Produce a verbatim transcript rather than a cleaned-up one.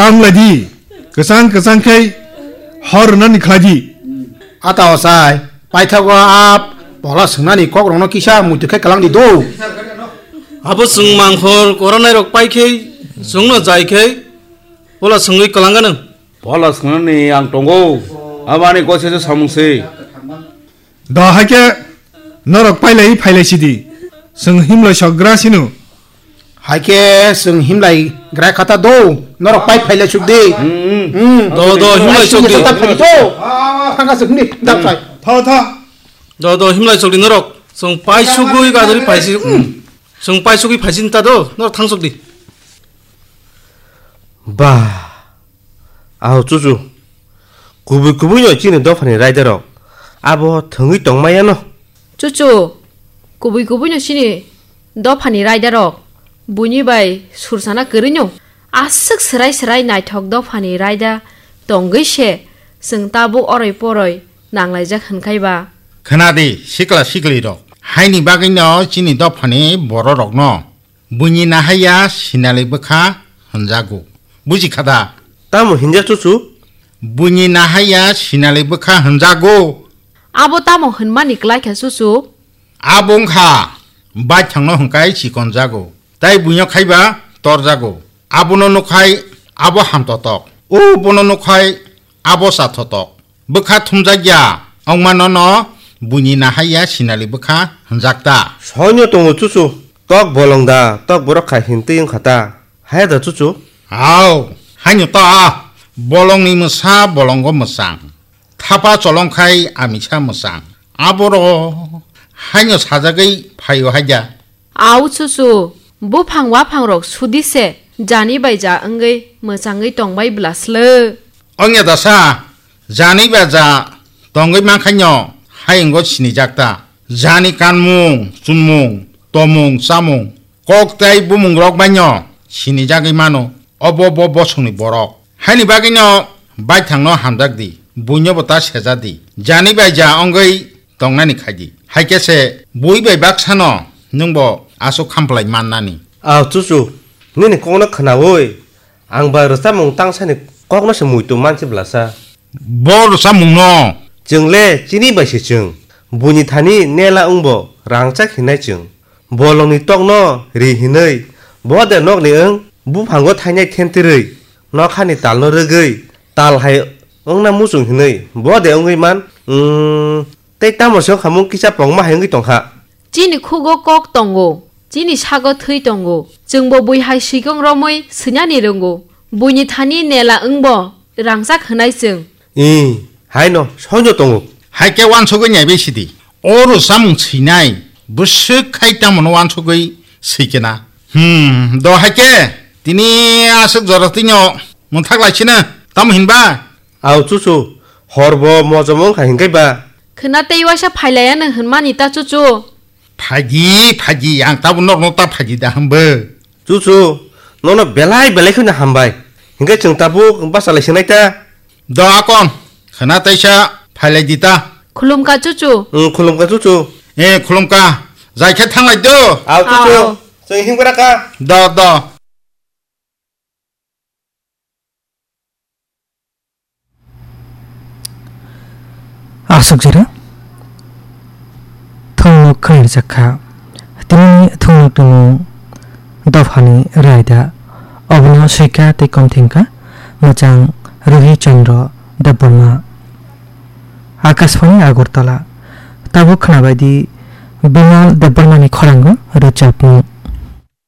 Tang lai di, kwchang kwchang khe hor rwnani khlai di. Ata osai, paithago a pola swngnani kok rokno kisa muitu khe kwlang di do. Abo chwng mangkhor koronai rok pai khe, chwngno jai khe, pola swngwi kwlang gano. Pola swngnani ang tongo, abani kose se samung se. Do hai khe norok pailai phailai sidi. Chwng himlai sok gra sino. Hai khe chwng himlai gra khata do, norok pai phailai suk di. Hmm. Do, do, himlai sok di. Thangka suk ni, dap sai. Tho, tho. Do, do, himlai sok di norok. Chwng pai sugui gadori phaisi. Hmm. Chwng pai sugui phaisi ta do, norok thang sok di. Ba. Aho chuchu. Kubui kubui no chini dophani raidarok. Abo thwngwi tongmaya no. Chuchu. Kubui kubui no chini dophani raidarok. Buini bai sursana kwrwi no. Aswk swrai swrai naithok dophani raida tongwi se chwng tabuk oroi poroi nanglaijak hwnkhai ba. Khna di, sikla sikli rok. Haini bagwi no chini dophani bororok no. Buini nahaiya sinali bwkha hwnjago. Buji kha da? Tamo hinjak chuchu? Buini nahaiya sinali bwkha hwnjago. Abo tamo hwnmani klaikha chuchu? Abo wngkha baithangno hwnkhai chikonjago, tai buino khaiba torjago. Abono nukhai abo hamtotok, o bono nukhai abo chathotok. Bwkha thumjakya wngmano no buini nahaiya sinali bwkha hwnjakta. Soino tongo chuchu, tok bolong da, tok borok khai hintwi wngkha ta. Haya da chuchu? Hao, haino ta, bolongni mwsa bolongo mwchang. Thapa cholongkhai amisa mwchang. Aboro haino sajagwi phaio haida. Au chuchu, buphang waphangrok sudi se, jani bai ja wngwi mwchangwi tongbai bwla sle. Ongya dasa, jani ba ja tongwi mankhaino hayungo sinijak ta. Jani kanmung, chunmung, tomung, chamung, kok tei bumungrok baino sinijagwi mano, obo bo bosongni borok. Haini bagwino baithangno hamjak di, buinobo ta seja di. Jani bai ja wngwi tongnani khai di. Hai khe se bui bai baksano nwngbo aswk khamplai mannani. Au chuchu, nini kokno khnaui, ang ba rwchapmung tangsani kokno se muitu mansi blasa. Bo rwchapmungno? Chwng le chini bai se chwng. Buini thani nela wngbo rangchak hinai chwng. Bolongni tokno ri hinwi, bo de nokni wng, buphango thainai khentirwi, nokhani talno rwgwi, tal hai wngna muchung hinwi, bo de wngwi man, mm, tei tamo se wngkha mung kisa pongma hai wngwi tongkha. Chini khugo kok tongo, chini sago thwi tongo, chwngbo bui hai swikang romwi swinani rwngo, buini thani nela wngbo rangchak hwnai chwng. Ih, haino, soino tongo. Hai khe uansugwi naibai sidi. O rwchapmung swinai, bwswk khai tamono uansugwi swi kena. Hmm, do hai khe, tini aswk jora twino mwthak lai sino, tamo hinba? Au chuchu, horbo mojom wngkha hinkhai ba. Khwna tei uaisa phailaiya nwng hwnmani ta chuchu. Phaidi, phaidi, ang tabuk norokno ta phaidi da hwnbo. Chuchu, nono belai belai kheno hambai. Hinkhe chwng tabuk bachalai swngnai ta. Do akon, khwna teisa phailai di ta. Khulumkha chuchu. Wng, khulumkha chuchu. Eh, khulumkha. Jai khe thanglai do. Ao chuchu. Ao. Chwng himgra kha. Do, do. Aswk jora thungnuk khairjak kha. Tinini thungnukni mung dophani raida. Obono swika tei komthingkha mwchang Ruhi Chandra Debbarma. Akashvani Agartala. Tabuk khwnabaidi Bimal Debbarmani khorango rwchapmung.